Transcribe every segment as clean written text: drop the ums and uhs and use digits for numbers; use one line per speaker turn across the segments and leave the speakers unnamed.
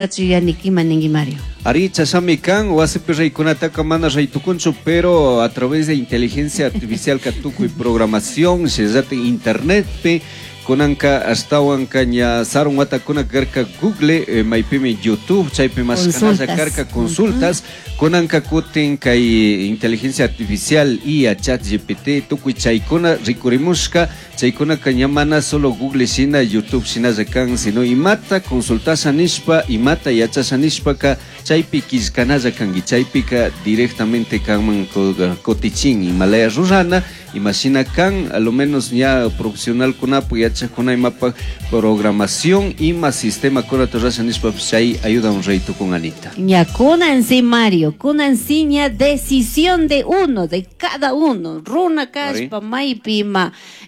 Yuyani, ima ningui, Mario?
Ari, chashnami kan, wasipi raykunataka mana raytukunchu, pero a través de inteligencia artificial ka tukuy programación, shinallatik internetpi, kunanka ashtawanka ña sarun watakuna karka Google, maypimi YouTube, chaypi mashkanalla
Consultas.
karka consultas, kunanka kutin kay inteligencia artificial, IA, ChatGPT, tukuy chaykuna rikurimushka, chaykunaka ña mana solo Google shina, YouTube shinalla kan, sino imata consultasha nishpa, imata yachasha nishpaka chaypi killkanalla kanki, chaypika directamente kanman kutichin imalaya rurana, imashina kan, a lo menos ña profesionalkunapak yachakuna imapak programación, ima sistema kunata rurasha nishpapish chay ayuda un rey tukun, Anita.
Ña kunan sí, Mario, kunan sí ña decisión de uno, de cada uno, runa kashpa, maypi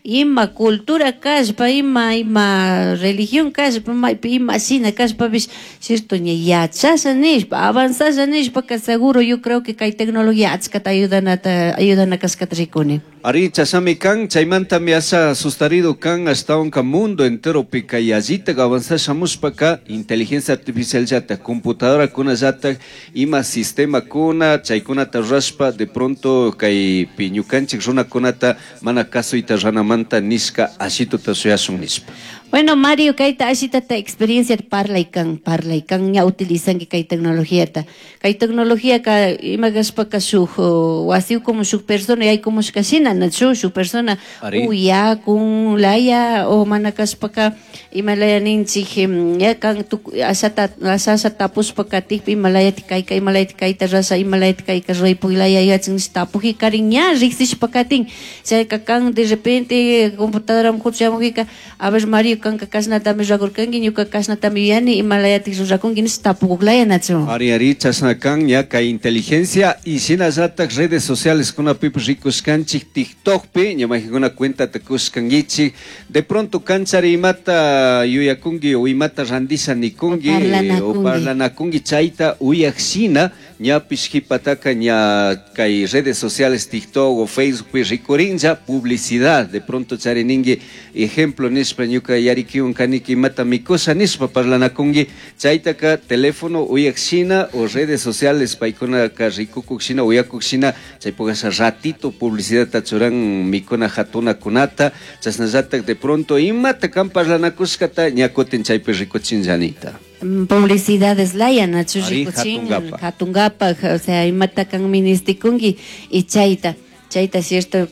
ima cultura kashpa, ima religión kashpa, maypi ima shina kashpapish, cierto, ña yachasha nishpa, avanzasha nishpa, que seguro yo creo que kay tecnología achkata ayudanata, ayudana kashkata rikuni.
Ari, chashnami kan, chaymantami asha asustarido kan, ashtawanka mundo enteropi kay allitak avanzasha shamushpaka, inteligencia artificial llata, computadora kuna llata, ima sistema kuna, chaykunata rurashpa, de pronto kay ñukanchik runakunata mana kasuyta ranamanta nishka ashituta shuyashun nishpa.
Bueno, Mario, kayta ashitata experiencia parlaykan, parlaykan, ña utilizanki kay tecnologiata. Kay tecnología ka ima kashpaka shuk wasi como shuk persona yaykumushka shina, nachu shuk persona
Ari.
uyakun laya o mana kashpaka ima laya ninchik, ya kan tuk, ashata, asha asha tapushpa katikpi ima layati kayka, ima layati kayta rasha, ima layati kayka ruraypuk laya yachin tapuji karin ña riksishpa katin. Chayka kan de repente computadora mkuchamujika, a ver Mario, kanka kashnatami rurakurkanki, ñuka kashnatami yuyani, ima layatik rurakunki nish tapukuk laya nachu.
Ari, ari, chashna kan ña kay inteligencia y shinallatak redes sociales kunapipish rikushkanchik TikTokpi, ña mayqankuna cuentata kushkankichik, de pronto kanchari imata yuyakunki o imata randisha nikunki,
O
o
parlanakunki.
parlanakunki, chayta uyak shina, ñapish qhipataka ña kay redes sociales TikTok o Facebookpi rikurinlla publicidad, de pronto charininki ejemplo nishpa ñuka yarikiwan kaniki imata mikusha nishpa parlanakunki, chaytaka teléfono uyak shina o redes sociales paykunaka rikukuk shina uyakuk shina, chaypukasha ratito publicidadta churan mikuna hatunakunata, chashnallatak de pronto imata kan parlanakushkata ña kutin chaypi rikuchinllanita.
Publicidades laya, nachu
Ari,
rikuchin,
hatungapa.
hatungapa, o sea, imata kan ministikunki y chayta. Chayta cierto,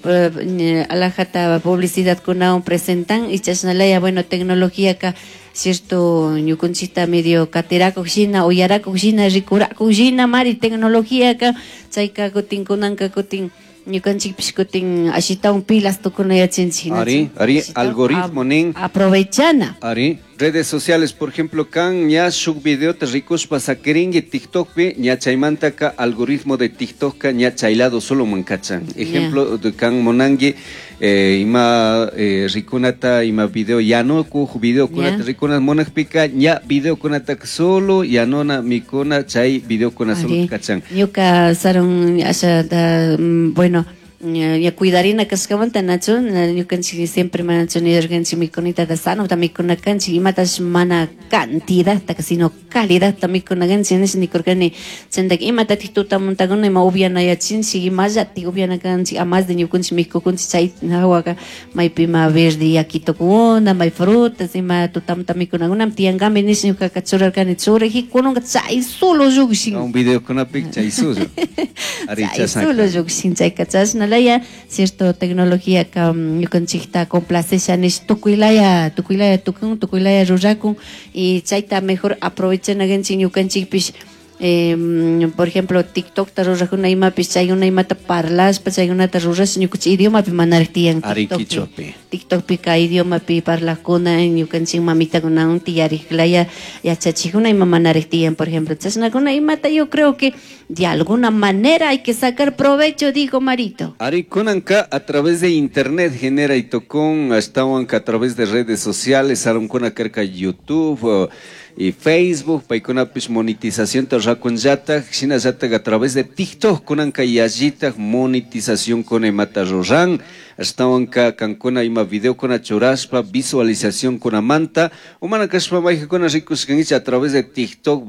alajata publicidad kunawan presentan y chashnalaya, bueno, tecnología ka cierto ñukunchikta medio katirakuq shina, uyarakuq shina, rikurakuq shina, mari tecnología ka chayka kutin kunanka kutin ñukanchikpish kutin ashitawan pilas tukunayachinchik, nachu?
Ari, ari,
Ashitawan
algoritmo nin.
aprovechana.
Ari, redes sociales, por ejemplo, kan ña shuk videota rikushpa sakirinki TikTokpi, ña chaymantaka algoritmo de TikTokka ña chaylado solo mankachan. Ejemplo, de kan monanki ima rikunata, ima video yanukuj, video kunata rikuna monakpika, ña video kunata solo yanona mikuna chay video kuna solo
Ari,
kachan.
Ñuka sarun asha da, bueno, ña, ña cuidarina kaskamanta, nachu, na, ñukanchik siempre manachu nirkanchik mikunita da sano ta mikuna kanchik, imatash mana cantidad ta, sino calidad ta mikuna kanchik, nish nikurkani, chantak imatatik tutamuntakuna ima upianayachinchik, imallatik upiana kanchik, a más de ñukanchik mikukunchik chay hawaka, maypi ima verde yakitokuna, may frutas, ima tutamunta mikunakuna, tiyankami nish ñukaka churarkani, churaji kununka chay solo llukshin.
Un video kunapik chay solo. Ari,
Chay
chasnaka.
solo llukshin, chayka chashna laya, cierto, tecnología ka, ñukanchikta complacesha nish tukuylaya, tukuylaya tukun, tukuylaya rurakun, y chayta mejor aprovechana kanchik ñukanchikpish. Por ejemplo, TikTok ta rurajuna imapish, chaykuna imata parlashpa, chaykunata rurash, ñukanchik idiomapi manaraj tiyan
Ari
TikTokpi.
kichwapi.
TikTokpi ka idiomapi parlajkuna, ñukanchik mamitakunawan tiyariklaya yachachikuna ima manaraj tiyan, por ejemplo. Chashnakuna imata yo creo que de alguna manera hay que sacar provecho, dijo Marito.
Ari, kunanka a través de internet genera y tocón, ashtawanka a través de redes sociales, arunkuna karka YouTube, y Facebook paykunapish monetizacionta rakunllatak, shinallatak a través de TikTok kunanka yallitak monetizacionkuna imata ruran, ashtawanka kankuna ima videokuna churashpa visualizacionkunamanta o mana kashpa mayjakuna rikushkankichik a través de TikTok.